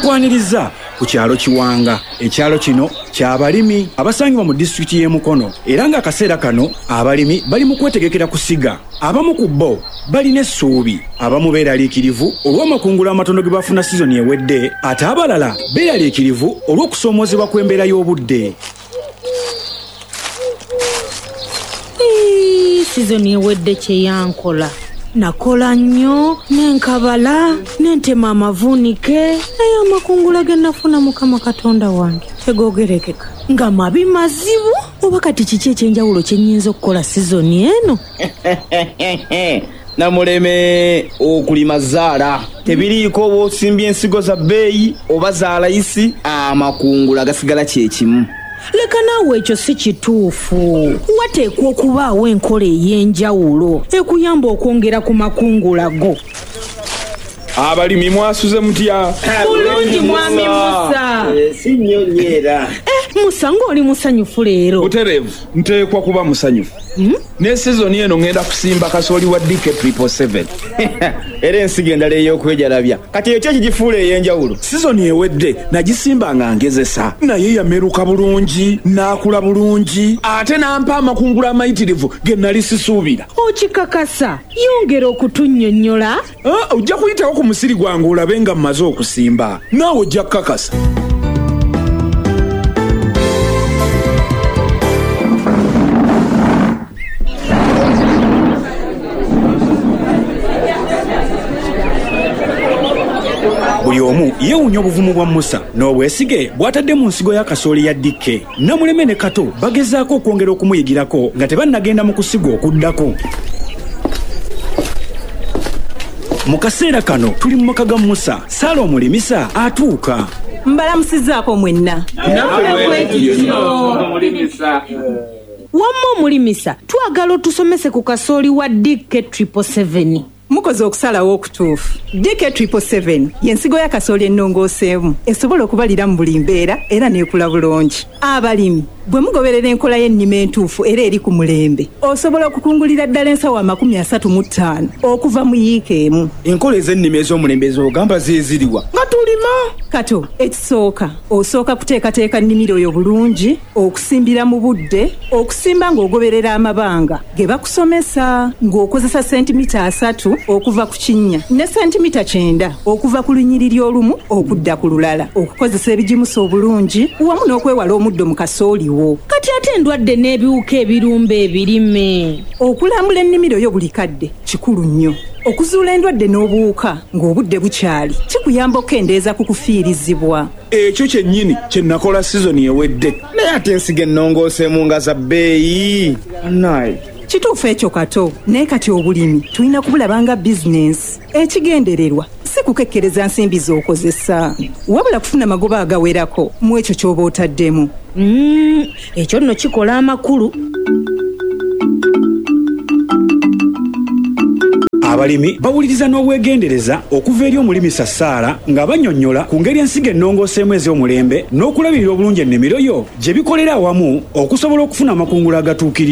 Tukwaniriza ku kyalo Kiwanga. Ekyalo kino ky'abalimi abasangibwa mu disitulikiti y'e Mukono, era ng'akaseera kano abalimi bali mu kwetegekera kusiga. Abamu ku bo balina essuubi, abamu beeraliikirivu olw'amakungula amatono ge bafuna sizoni ewedde, ate abalala beeraliikirivu olw'okusoomoozebwa kw'embeera y'obudde. Sizoni ewedde kye yankola. Nakola nnyo, ne nkabala, ne ntema amavuunike, naye amakungula ge nafuna Mukama Katonda wange tegoogerekeka. Nga mabi mazibu, oba kati kiki eky'enjawulo kye nnyinza okukola sizoni eno? Namuleme okulima zaala tebiriiko oba osimbye ensigo za bbeeyi oba za layisi, amakungula gasigala kye kimu. Leka naawe ekyo si kituufu. Wateekwa okubaawo enkola ey'enjawulo ekuyamba okwongera ku makungula go. Abalimi mwasuze mutya? Bulungi Mwami Musa. Si nnyo nnyo era. Musa ng'oli musanyufu leero. Butereevu, nteekwa kuba musanyufu. Ne sizoni eno ŋŋenda kusimba kasooli wa DK 777. Era ensigo endala ey'okwejalabya. Kati ekyo ekigifuula ey'enjawulo? Sizoni ewedde nagisimba nga ngezesa, naye yameruka bulungi, n'akula bulungi, ate n'ampa amakungula amayitirivu ge nali sisuubira. Okikakasa? Yongera okutunnyonnyola. Ojja kuyitawo ku musiri gwange olabe nga mmaze okusimba, naawe ojja kukakasa. Buli omu yeewuunya obuvumu bwa Musa n'obwesige bw'atadde mu nsigo ya kasooli ya DK. Namuleme ne Kato bagezaako okwongera okumuyigirako nga tebannagenda mu kusiga okuddako. Mu kaseera kano tuli mu maka ga Musa. Saala omulimisa atuuka. Mbalamusizzaako mwenna. Wamma omulimisa, twagala otusomese ku kasooli wa DK 777. Mukoze okusalawo okutuufu. DK 777 y'ensigo ya kasooli ennongooseemu esobola okubalira mu buli mbeera era n'ekula bulungi. Abalimi bwe mugoberera enkola y'ennima entuufu era eri ku mulembe, osobola okukungulira ddala ensawo 35 okuva mu yiika emu. Enkola ez'ennima ez'omulembe z'ogamba ze ziriwa nga tulima? Kato, ekisooka osooka kuteekateeka nnimiro yo bulungi, okusimbira mu budde, okusimba ng'ogoberera amabanga ge bakusomesa ng'okozesa sentimita 3 okuva ku kinnya ne sentimita 90 okuva ku lunyiriri olumu okudda ku lulala, okukozesa ebigimusa obulungi wamu n'okwewala omuddo mu kasooli wo. Kati ate endwadde n'ebiwuka ebirumba ebirime. Okulambula ennimiro yo buli kadde kikulu nnyo. Okuzuula endwadde n'obuwuka ng'obudde bukyali kikuyamba okukendeeza ku kufiirizibwa. Ekyo kyennyini kye nakola sizoni ewedde. Naye ate ensigo ennongooseemu nga za bbeeyi. Bannaaye. Kituufu ekyo Kato, naye kati obulimi tulina kubulaba nga bizinensi. Ekigendererwa si kukekkereza nsimbi z'okozesa, wabula kufuna magoba agawerako mu ekyo ky'oba otaddemu. Ekyo nno kikola amakulu. Abalimi bawuliriza n'obwegendereza okuva eri omulimisa Saala nga bannyonnyola ku ngeri ensigo ennongooseemu ez'omulembe n'okulabirira obulungi ennimiro yo gye bikolera awamu okusobola okufuna amakungula agatuukiridde.